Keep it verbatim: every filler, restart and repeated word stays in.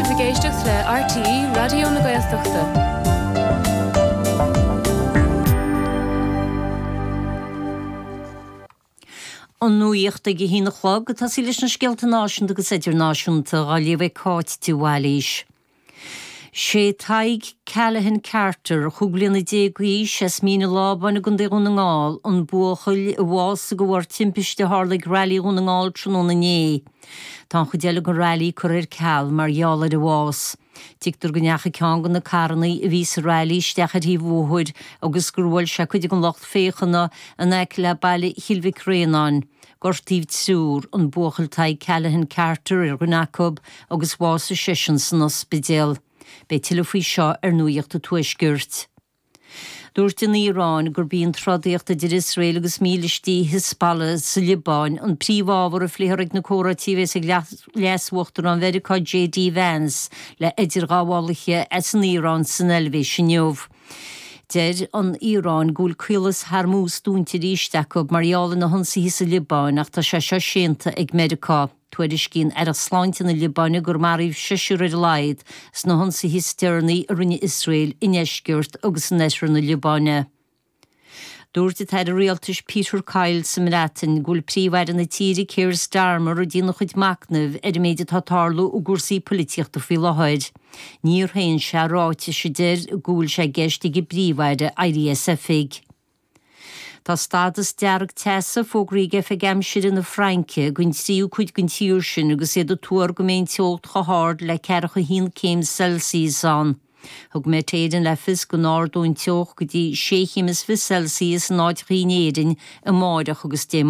sibh ag éisteacht le RTÉ Raidió na Gaeltachta. An nuacht ag a haon a chlog ag tosaí leis na scéalta náisiúnta agus idirnáisiúnta á léamh ag Cáit de Bhailís. Sé Tadhg Callaghan Carter chúig bliana déag d'aois as Mín an Lábáin i gContae Dhún na nGall an buachaill a bhásaigh de bharr timpiste a tharla ag Railí Dhún na nGall tráthnóna inné. Tá an chuid eile den railí curtha ar ceal mar gheall ar a bhás. Tuigtear go ndeachaigh ceann de na carranna a bhí sa railí isteach ar thaobh an bhóthair agus gur bhuail sé cuid den lucht féachana in aice le baile Chill Mhic Réanáin. Gortaíodh triúr, an buachaill Tadhg Callaghan Carter ar dhuine acu agus bhásaigh seisean san ospidéal. Beidh tuilleadh faoi seo ar Nuacht an Tuaiscirt. Dúirt an Iaráin gurb í an trodaíocht idir Iosrael agus mílístí Hezbollah sa Liobáin an príomhábhar a phléifear ag na comhráití a bheas ag Leas-Uachtarán Mheiriceá J.D. Vance le idirghabhálaithe as an Iaráin san Eilvéis inniu. Deir an Iaráin go bhfuil Caolas Hormuz dúnta arís acu mar gheall ar na hionsaithe sa Liobáin ach tá sé seo séanta ag Meiriceá. Tuairiscíonn Aireacht Sláinte na Liobáine gur maraíodh seisear ar a laghad sna hionsaithe is deireanaí a rinne Iosrael i ndeisceart agus in oirthear na Liobáine. Dúirt an tAire Rialtais Peter Kyle sa mBreatain go bhfuil Príomh-Aire na tíre Keir Starmer ag déanamh a chuid machnaimh ar an méid atá ag tarlú i gcúrsaí poilitíochta faoi láthair. Níor shéan sé ráitis a deir go bhfuil sé i gceist ag an bPríomh-Aire éirí as oifig. Tá stádas dearg teasa fógraithe ag Oifig Aimsire na Fraince don tríú cuid den tír sin agus iad ag tuar go mbeidh an teocht chomh hard le ceathracha a haon céim Celsius ann. Thug Met Éireann le fios go n-ardóidh an teocht go dtí sé chéim is fiche Celsius in áiteacha in Éirinn amáireach agus Dé